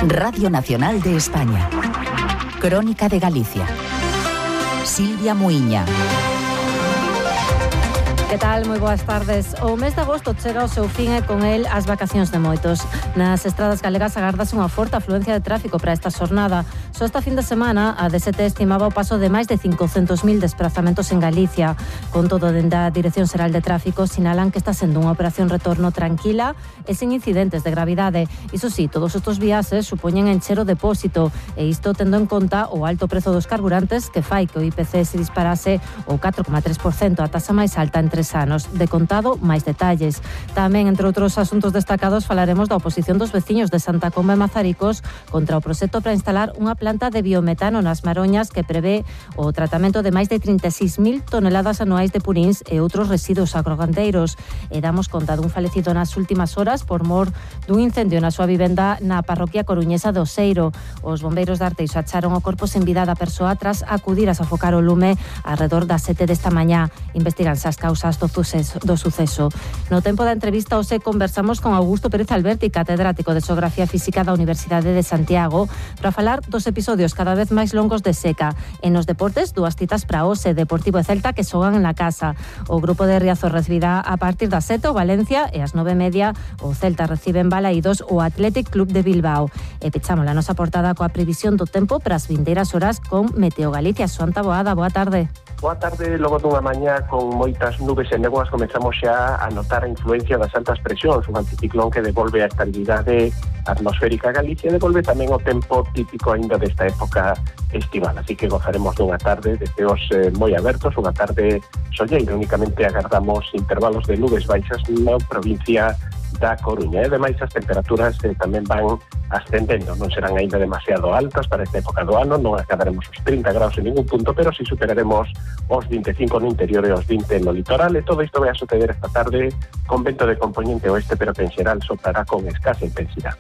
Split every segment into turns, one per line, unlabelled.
Radio Nacional de España. Crónica de Galicia. Silvia Muiña.
Que tal? Moi boas tardes. O mes de agosto chega ao seu fin e con el as vacacións de moitos. Nas estradas galegas agardase unha forte afluencia de tráfico para esta xornada. Só esta fin de semana a DST estimaba o paso de máis de 500.000 desplazamentos en Galicia. Con todo, dende a Dirección Xeral de Tráfico sinalan que está sendo unha operación retorno tranquila e sen incidentes de gravidade. Iso sí, todos estes viaxes supoñen encher o depósito e isto tendo en conta o alto prezo dos carburantes que fai que o IPC se disparase o 4,3%, a taxa máis alta en 3 anos. De contado, máis detalles. Tamén, entre outros asuntos destacados, falaremos da oposición dos veciños de Santa Comba e Mazaricos contra o proxecto para instalar unha planta de biometano nas Maroñas que prevé o tratamento de máis de 36.000 toneladas anuais de purins e outros residuos agrogandeiros. E damos conta dun falecido nas últimas horas por mor dun incendio na súa vivenda na parroquia coruñesa de Oseiro. Os bombeiros de Arteixo acharon o corpo sen vida da persoa tras acudir a sofocar o lume alrededor das 7 desta mañá. Investiganse as causas do suceso. No tempo da entrevista hoxe conversamos con Augusto Pérez Alberti, catedrático de Xeografía Física da Universidade de Santiago, para falar dos episodios cada vez máis longos de seca. En os deportes, dúas citas para hoxe, Deportivo e Celta que xogan na casa. O grupo de Riazor recibirá a partir das 7 o Valencia e ás 9:30 o Celta recibe en Balaídos o Athletic Club de Bilbao. E pechamos a nosa portada coa previsión do tempo para as vindeiras horas con Meteo Galicia. Xoanta Boada, boa tarde.
Boa tarde. Logo dunha mañá con moitas nubes e néboas comezamos xa a notar a influencia das altas presións, un anticiclón que devolve a estabilidade atmosférica a Galicia e devolve tamén o tempo típico aínda desta época estival, así que gozaremos dunha tarde de ceos moi abertos, unha tarde solleira. Únicamente agardamos intervalos de nubes baixas na provincia da Coruña. E ademais as temperaturas tamén van ascendendo, non serán aínda demasiado altas para esta época do ano, non acadaremos os 30 graus en ningún punto, pero si superaremos os 25 no interior e os 20 no litoral, e todo isto vai a suceder esta tarde con vento de componente oeste, pero que en xeral soprará con escasa intensidade.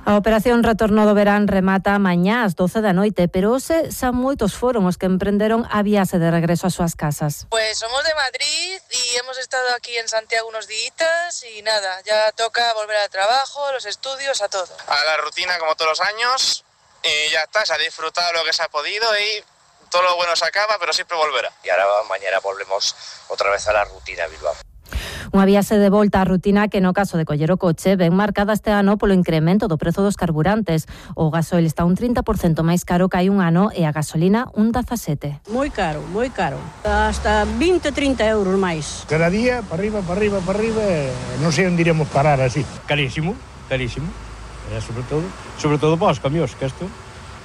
A operación Retorno do Verán remata mañá ás 12 da noite, pero hoxe xa moitos foron os que emprenderon a viaxe de regreso ás súas casas.
Pues somos de Madrid y hemos estado aquí en Santiago unos días y nada, ya toca volver al trabajo, a los estudios, a todo.
A la rutina como todos los años y ya está, se ha disfrutado lo que se ha podido y todo lo bueno se acaba, pero siempre volverá.
Y ahora mañana volvemos otra vez a la rutina Bilbao.
Unha viaxe de volta á rutina que no caso de coller o coche ven marcada este ano polo incremento do prezo dos carburantes. O gasoil está un 30% máis caro que hai un ano e a gasolina un 17%.
Moi caro, hasta 20-30 euros máis.
Cada día, para arriba, non sei onde iremos parar así. Carísimo. E sobre todo para os camións, que estos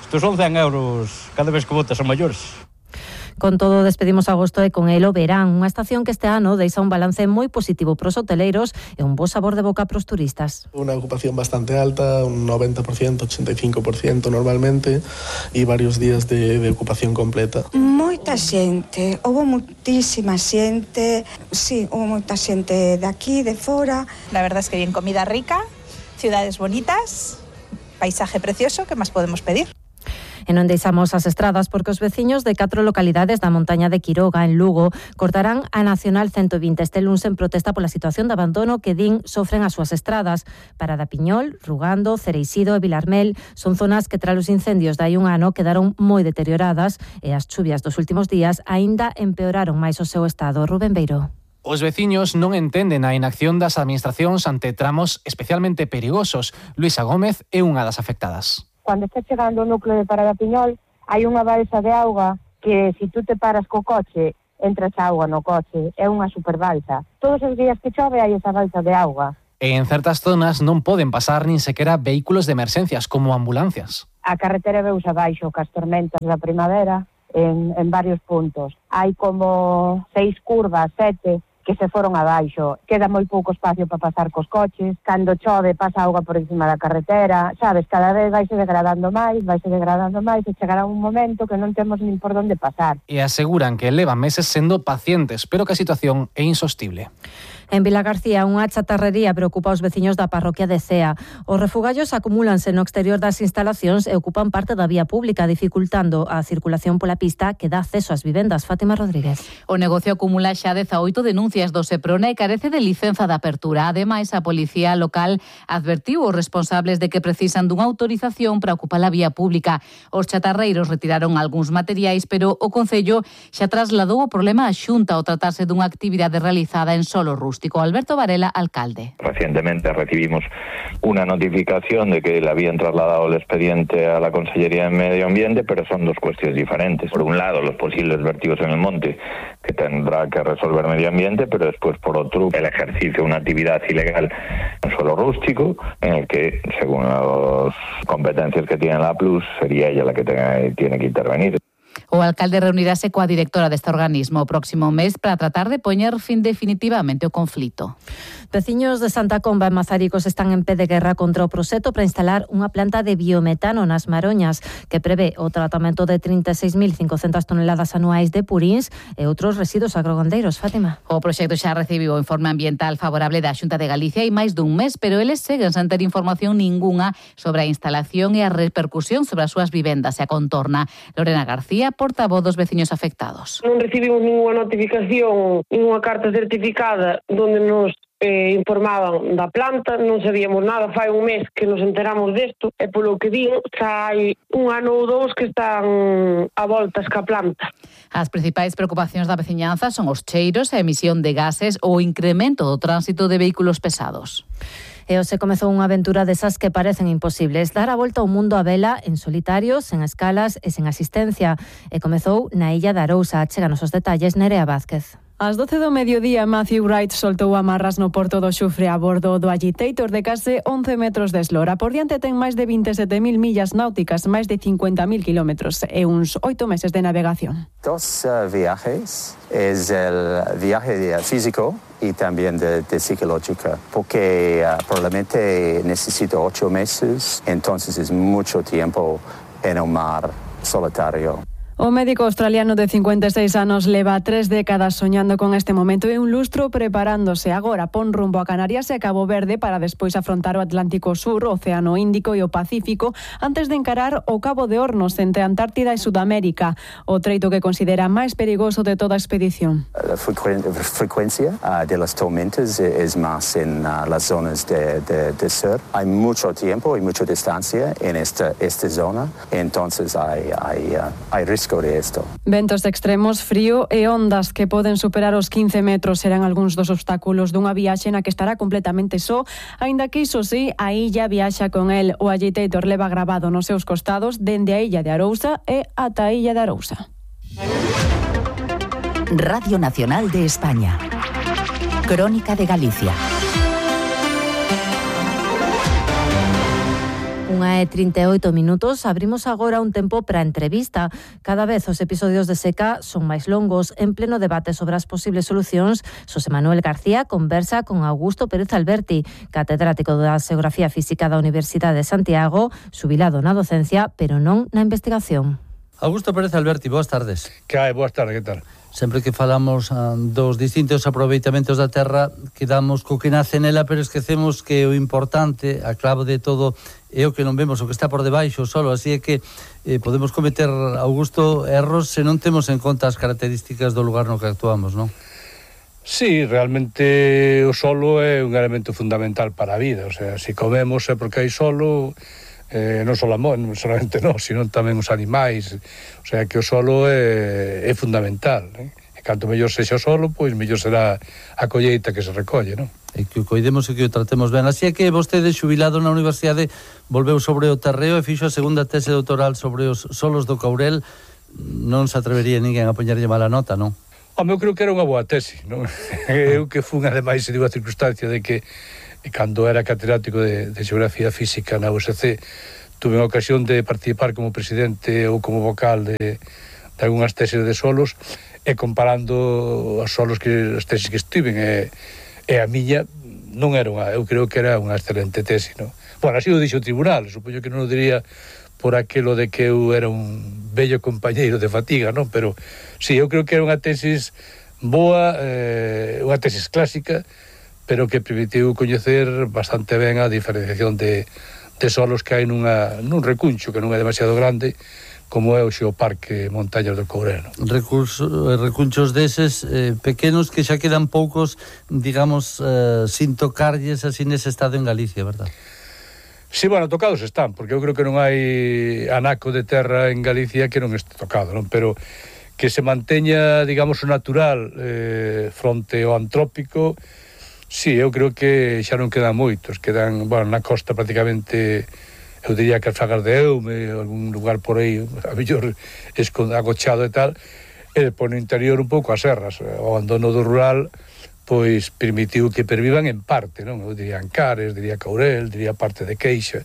son 100 euros cada vez que botas a maiores.
Con todo, despedimos agosto e con el o verán, unha estación que este ano deixa un balance moi positivo pros hoteleiros e un bo sabor de boca pros turistas.
Unha ocupación bastante alta, un 90%, 85% normalmente, e varios días de ocupación completa.
Moita xente, houve moitísima xente, sí, houve moita xente de aquí, de fora.
La verdad es que bien, comida rica, ciudades bonitas, paisaje precioso, ¿qué más podemos pedir?
E non deixamos as estradas porque os veciños de 4 localidades da montaña de Quiroga, en Lugo, cortarán a Nacional 120 este luns en protesta pola situación de abandono que din sofren as súas estradas. Para da Piñol, Rugando, Cereixido e Vilarmel son zonas que tras os incendios de hai un ano quedaron moi deterioradas e as chuvias dos últimos días aínda empeoraron máis o seu estado. Rubén Beiro.
Os veciños non entenden a inacción das administracións ante tramos especialmente perigosos. Luisa Gómez é unha das afectadas.
Cando está chegando o núcleo de Parada Piñol, hai unha balsa de auga que, se tú te paras co coche, entras auga no coche. É unha superbalsa. Todos os días que chove hai esa balsa de auga.
E en certas zonas non poden pasar nin sequera vehículos de emerxencias, como ambulancias.
A carretera veus abaixo cas tormentas da primavera en varios puntos. Hai como 6 curvas, 7, que se foron abaixo. Queda moi pouco espacio para pasar cos coches. Cando chove pasa auga por encima da carretera. Sabes, cada vez vaise degradando máis e chegará un momento que non temos nin por onde pasar.
E aseguran que levan meses sendo pacientes, pero que a situación é insostible.
En Vilagarcía, unha chatarrería preocupa os veciños da parroquia de Cea. Os refugallos acumúlanse no exterior das instalacións e ocupan parte da vía pública, dificultando a circulación pola pista que dá acceso ás vivendas. Fátima Rodríguez.
O negocio acumula xa 18 denuncias do Seprona e carece de licenza de apertura. Ademais, a policía local advertiu os responsables de que precisan dunha autorización para ocupar a vía pública. Os chatarreiros retiraron algúns materiais, pero o Concello xa trasladou o problema á Xunta ao tratarse dunha actividade realizada en solo rústico. Alberto Varela, alcalde.
Recientemente recibimos una notificación de que le habían trasladado el expediente a la Consellería de Medio Ambiente, pero son dos cuestiones diferentes. Por un lado, los posibles vertidos en el monte, que tendrá que resolver Medio Ambiente, pero después, por otro, el ejercicio de una actividad ilegal en suelo rústico, en el que, según las competencias que tiene la Plus, sería ella la que tiene que intervenir.
O alcalde reunirase coa directora deste organismo o próximo mes para tratar de poñer fin definitivamente ao conflito.
Veciños de Santa Comba en Mazaricos están en pé de guerra contra o proxecto para instalar unha planta de biometano nas Maroñas que prevé o tratamento de 36.500 toneladas anuais de purins e outros residuos agrogandeiros. Fátima.
O proxecto xa recibiu o informe ambiental favorable da Xunta de Galicia hai máis dun mes, pero eles seguen sen ter información ningunha sobre a instalación e a repercusión sobre as súas vivendas e a contorna. Lorena García, portavoz dos veciños afectados.
Non recibimos ninguna notificación, ninguna carta certificada onde nos informaban da planta, non sabíamos nada, fai un mes que nos enteramos desto e polo que din xa hai un ano ou dous que están a voltas ca planta.
As principais preocupacións da veciñanza son os cheiros, a emisión de gases ou o incremento do tránsito de vehículos pesados.
E hoxe comezou unha aventura desas que parecen imposibles, dar a volta ao mundo a vela en solitario, sen escalas e sen asistencia. E comezou na illa de Arousa. Cheganos os detalles, Nerea Vázquez.
Ás 12 do mediodía, Matthew Wright soltou amarras no porto do Xufre a bordo do Agitator de case 11 metros de eslora. Por diante ten máis de 27.000 millas náuticas, máis de 50.000 kilómetros e uns 8 meses de navegación.
Dos viajes, es el viaje físico y también de psicológica, porque probablemente necesito 8 meses, entonces es mucho tiempo en un mar solitario.
O médico australiano de 56 anos leva 3 décadas soñando con este momento e un lustro preparándose. Agora pon rumbo a Canarias e a Cabo Verde para despois afrontar o Atlántico Sur, o Océano Índico e o Pacífico antes de encarar o Cabo de Hornos entre Antártida e Sudamérica, o treito que considera máis perigoso de toda a expedición.
La frecuencia de las tormentas es más en las zonas de sur. Hay mucho tiempo y mucha distancia en esta zona, entonces hay riesgo de esto.
Ventos extremos, frío e ondas que poden superar os 15 metros serán algúns dos obstáculos dunha viaxe na que estará completamente só, aínda que iso sí, a illa viaxa con el. O Agitator leva grabado nos seus costados dende a illa de Arousa e ata a illa de Arousa.
Radio Nacional de España. Crónica de Galicia.
1:38, abrimos agora un tempo para a entrevista. Cada vez os episodios de seca son máis longos. En pleno debate sobre as posibles solucións, Xosé Manuel García conversa con Augusto Pérez Alberti, catedrático da Xeografía Física da Universidade de Santiago, xubilado na docencia, pero non na investigación.
Augusto Pérez Alberti, boas tardes.
Que hai, boas tardes, que tal?
Sempre que falamos dos distintos aproveitamentos da terra, quedamos co que nace nela, pero esquecemos que o importante, a clave de todo, é o que non vemos, o que está por debaixo solo, así é que podemos cometer, Augusto, erros se non temos en conta as características do lugar no que actuamos, non?
Sí, realmente o solo é un elemento fundamental para a vida, o sea, se comemos é porque hai solo, non solamente nós, sino tamén os animais, o sea, que o solo é fundamental, e canto mellor sexa o solo, pois mellor será a colleita que se recolle, non?
E que o coidemos e que o tratemos ben. Así é que vostede, xubilado na universidade, volveu sobre o terreo e fixo a segunda tese doutoral sobre os solos do Courel. Non se atrevería ninguén a poñerlle mala nota, non?
Eu creo que era unha boa tese, non? Eu que fun, ademais, se digo a circunstancia de que cando era catedrático de Xeografía Física na USC, tuve a ocasión de participar como presidente ou como vocal de algunhas teses de solos, e comparando as solos que as teses que estiven e a miña, non era eu creo que era unha excelente tese, non? Bueno, así o dixo o tribunal, supoño que non o diría por aquilo de que eu era un bello compañeiro de fatiga, non? Pero sí, eu creo que era unha tesis boa, unha tesis clásica, pero que permitiu coñecer bastante ben a diferenciación de solos que hai nun recuncho que non é demasiado grande, como é o Xeoparque Montañas do Courel.
Recunchos deses pequenos que xa quedan poucos, digamos, sin tocarlles así nese estado en Galicia, verdad?
Sí, bueno, tocados están, porque eu creo que non hai anaco de terra en Galicia que non este tocado, non? Pero que se manteña, digamos, o natural fronte ao antrópico. Sí, eu creo que xa non quedan moitos, quedan, bueno, na costa prácticamente, eu diría que as Fragas de Eume, algún lugar por aí, a mellor agochado e tal, e por no interior un pouco as serras. O abandono do rural, pois, permitiu que pervivan en parte, non? Eu diría Ancares, diría Courel, diría parte de Queixa,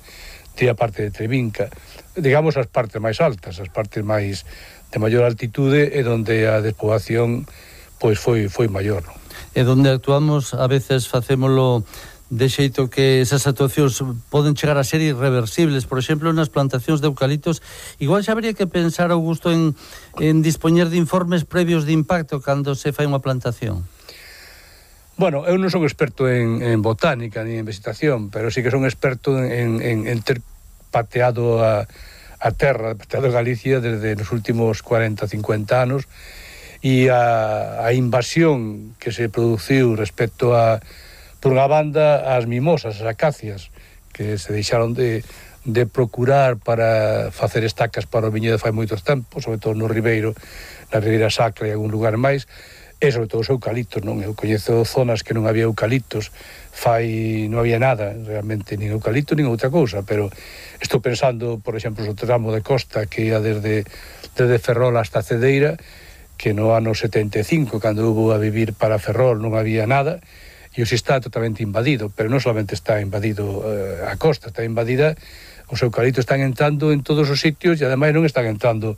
diría parte de Trevinca, digamos as partes máis altas, as partes máis de maior altitude e onde a despoboación, pois, foi maior, non?
E donde actuamos a veces facémolo de xeito que esas actuacións poden chegar a ser irreversibles. Por exemplo, nas plantacións de eucaliptos, igual xa habría que pensar, Augusto, en dispoñer de informes previos de impacto cando se fai unha plantación.
Bueno, eu non son experto en botánica ni en vegetación, pero sí que son experto en ter pateado a terra, pateado Galicia desde os últimos 40-50 anos, e a invasión que se produciu respecto a, por unha banda, as mimosas, as acacias, que se deixaron de procurar para facer estacas para o viñedo fai moitos tempos, sobre todo no Ribeiro, na Ribeira Sacra e algún lugar máis, e sobre todo os eucaliptos, non? Eu coñezo zonas que non había eucaliptos, non había nada, realmente, nin eucalipto, nin outra cousa, pero estou pensando, por exemplo, no tramo de costa que ia desde Ferrol hasta Cedeira, que no ano 75, cando hubo a vivir para Ferrol, non había nada, e hoxe está totalmente invadido, pero non solamente está invadido a costa, está invadida, os eucaliptos están entrando en todos os sitios e ademais non están entrando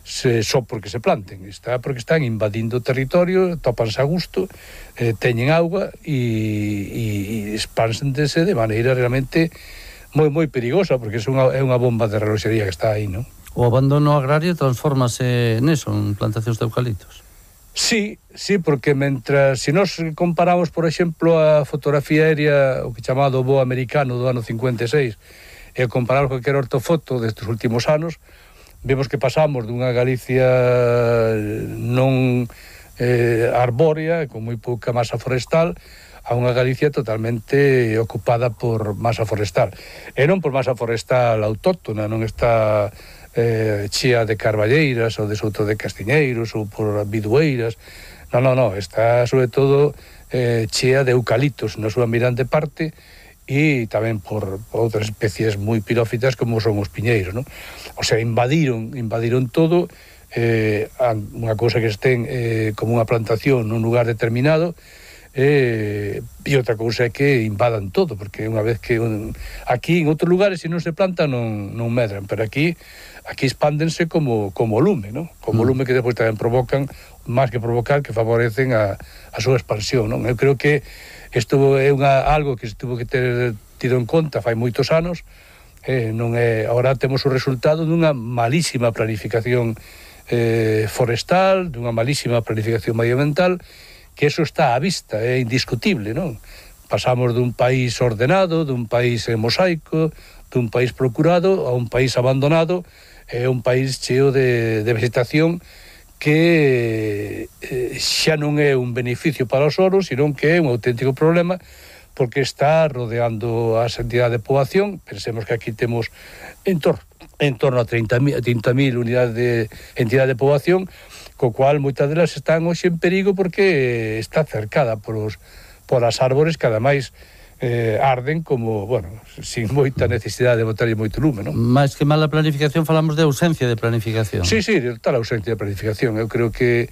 só porque se planten, está porque están invadindo o territorio, tópanse a gusto, teñen auga e expánsendese de maneira realmente moi perigosa, porque é unha bomba de reloxería que está aí, non?
O abandono agrario transfórmase neso, en plantacións de eucaliptos.
Sí, porque si nos comparamos, por exemplo, a fotografía aérea, o que chamado voo americano do ano 56, e comparamos con calquera ortofoto destes últimos anos, vemos que pasamos dunha Galicia non arbórea, con moi pouca masa forestal, a unha Galicia totalmente ocupada por masa forestal. E non por masa forestal autóctona, non está chea de carballeiras ou de souto de castiñeiros ou por bidueiras. Non, está sobre todo chea de eucaliptos na súa mirante parte e tamén por outras especies moi pirófitas como son os piñeiros, non? O sea, invadiron todo, unha cousa que estén como unha plantación nun lugar determinado, e outra cousa é que invadan todo, porque unha vez que aquí en outros lugares se non se planta non medran, pero aquí expándense como lume, non? Como lume que depois tamén provocan, máis que provocar, que favorecen a súa expansión, non? Eu creo que isto é algo que se tuvo que ter tido en conta fai moitos anos, non é, agora temos o resultado dunha malísima planificación forestal, dunha malísima planificación medioambiental, que eso está á vista, é indiscutible, non? Pasamos dun país ordenado, dun país mosaico, dun país procurado, a un país abandonado, é un país cheo de vegetación que xa non é un beneficio para os oros, sino que é un auténtico problema, porque está rodeando a entidade de poboación. Pensemos que aquí temos en torno a 30.000 unidades de entidade de poboación, co cual moitas delas están hoxe en perigo porque está cercada por as árbores que ademais arden como, bueno, sin moita necesidade de botarlle moito lume, non?
Mais que mala planificación, falamos de ausencia de planificación.
Sí, total ausencia de planificación. Eu creo que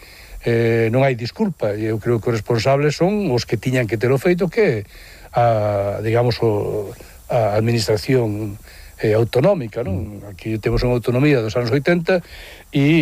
non hai disculpa, e eu creo que os responsables son os que tiñan que ter o feito, que a administración autonómica, non? Aquí temos unha autonomía dos anos 80 e